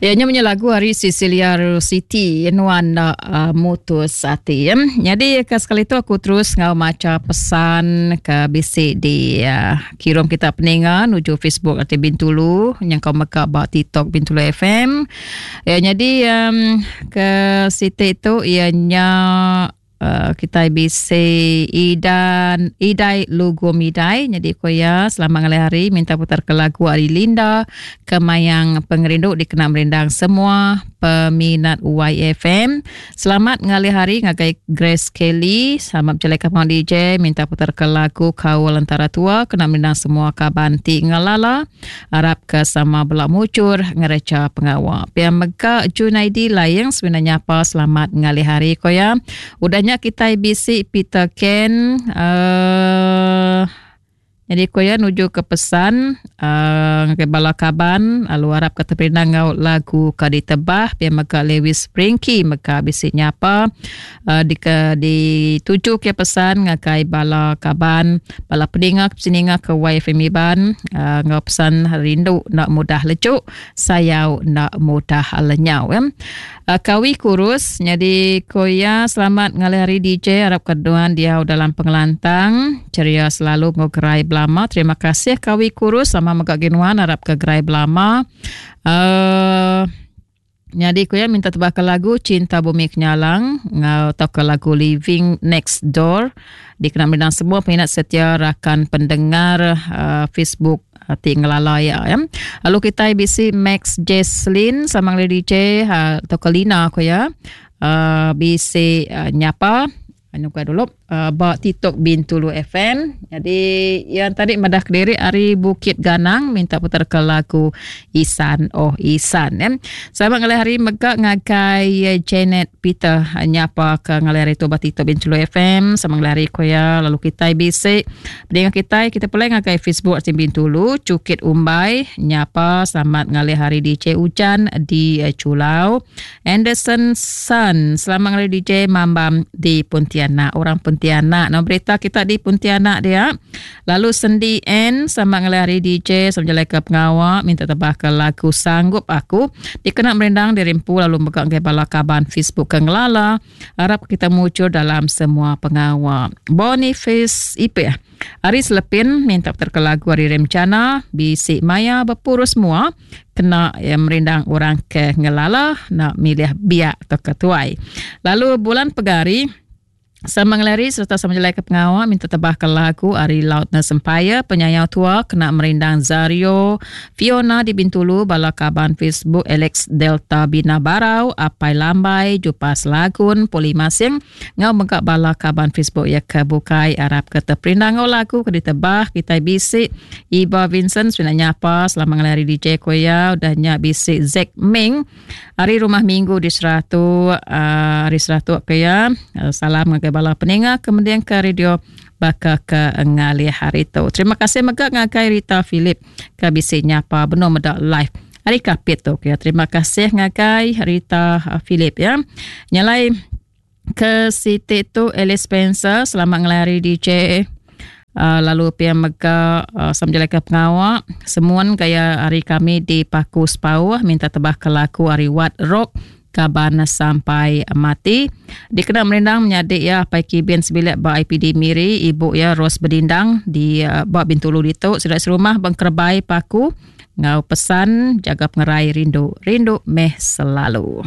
Ya nya punya lagu ari Cecilia Rositi nuan enda uh, mutus ati. Ya. Jadi ke sekali tu aku terus ngau maca pesan ke bisi di uh, kirum kita peninga nuju Facebook ati Bintulu yang kau mega ba TikTok Bintulu FM. Ya jadi um, ke siti tu ianya Uh, kitai bisi Idan Idai Lugum Idai jadi ko iya selamat ngalih hari minta putar ke lagu ari Linda Kemayang Pengerindu dikena merindang semua peminat YFM selamat ngalih hari ngagai Grace Kelly selamat bejalai ke pengawa DJ minta putar ke lagu Kaul Antara Tua kena merindang semua kaban ti ngelala Arap ke sama bela mujur ngereja pengawa. Pia mega Junaidi Laing semina nyapa selamat ngalih hari ko ya. Udah nya kitai bisi Peter Ken uh, jadi ko ya nuju ke pesan uh, ngagai bala kaban lalu arap ke teperindang enggau lagu ke ditebah pia mega Lewis Pringki mega bisi nyapa uh, di ke dituju ke pesan ngagai bala kaban bala peninga ke peninga ke YFM Iban uh, enggau pesan rindu enda mudah lejuk sayau enda mudah lenyau ya. Uh, kawi kurus nyadi ko iya selamat ngalih hari DJ arap ke nuan diau dalam pengelantang ceria selalu enggau gerai belama terima kasih kawi kurus sama mega gi nuan arap ke gerai belama uh, Nyadi ku iya minta tebaka lagu Cinta Bumi Kenyalang enggau tauka lagu Living Next Door dikena merindang semua peminat setia rakan pendengar uh, Facebook uh, ti ngelala iya ya. Lalu kitai bisi Max Jesslyn sama ngeli DJ uh, tauka Lina ku iya uh, bisi uh, nyapa Anu ka dulu uh, ba TikTok Bintulu FM. Jadi yang tadi madah kediri ari Bukit Ganang minta putar ke lagu Isan Oh Isan ya. Selamat ngalih hari mega ngagai eh, Janet Peter eh, nyapa ke ngalih hari tu ba TikTok Bintulu FM. Selamat ngalih hari ko ya lalu kita bisi Pendengar kitai kita pulai ngagai Facebook Tim Bintulu Cukit Umbai nyapa selamat ngalih hari DJ Ujan di eh, Chulau. Anderson Sun selamat ngalih DJ Mambam di Pontianak. Orang Pontianak nama berita kita di Pontianak dia. Lalu Sendi N selamat ngalih hari DJ sama jalai ke pengawa minta tebah ke lagu Sanggup Aku dikena merindang diri empu lalu mega ngagai bala kaban Facebook ke ngelala. Arap kita mujur dalam semua pengawa. Boniface Ipeh. Ari Selepin minta putar ke lagu ari Remcana bisi maya bepurus mua kena ya, merindang orang ke ngelala nak milih biak atau ke tuai. Lalu bulan pegari Sama ngelari sereta sama jelai ke pengawa minta tebah ke lagu ari Loudness Empire penyayau tua kena merindang Zario Fiona di Bintulu bala kaban Facebook Alex Delta Bina Barau Apai Lambai Jupas Lagun Poli Masing enggau mega bala kaban Facebook iya ke bukai arap ke teperindang enggau lagu ke ditebah kitai bisi Iba Vincent semina nyapa selama ngalih hari DJ ko iya udah nya bisi Zack Ming ari Rumah Minggu di Seratuk uh, ari Seratuk ke iya uh, salam ngagai bala peninga ke mending ke radio baka ke ngalih hari tu. Terima kasih mega ngagai Rita Philip ke bisi nyapa benung meda live ari Kapit tu. Ya, terima kasih ngagai Rita Philip ya. Nyalai ke siti tu Alice Spencer selamat ngalih hari DJ uh, lalu pia mega uh, sama ke pengawa semuan gaya hari kami di Paku Sepauh minta tebah ke laku ari Wat Rock kaban sampai mati. Dikena merindang menyadi iya Apai Kibin sebilik ba IPD Miri, ibu iya Rose Bedindang di eh, ba Bintulu ditu sida serumah Bengkerebai Paku ngau pesan jaga pengerai rindu rindu meh selalu.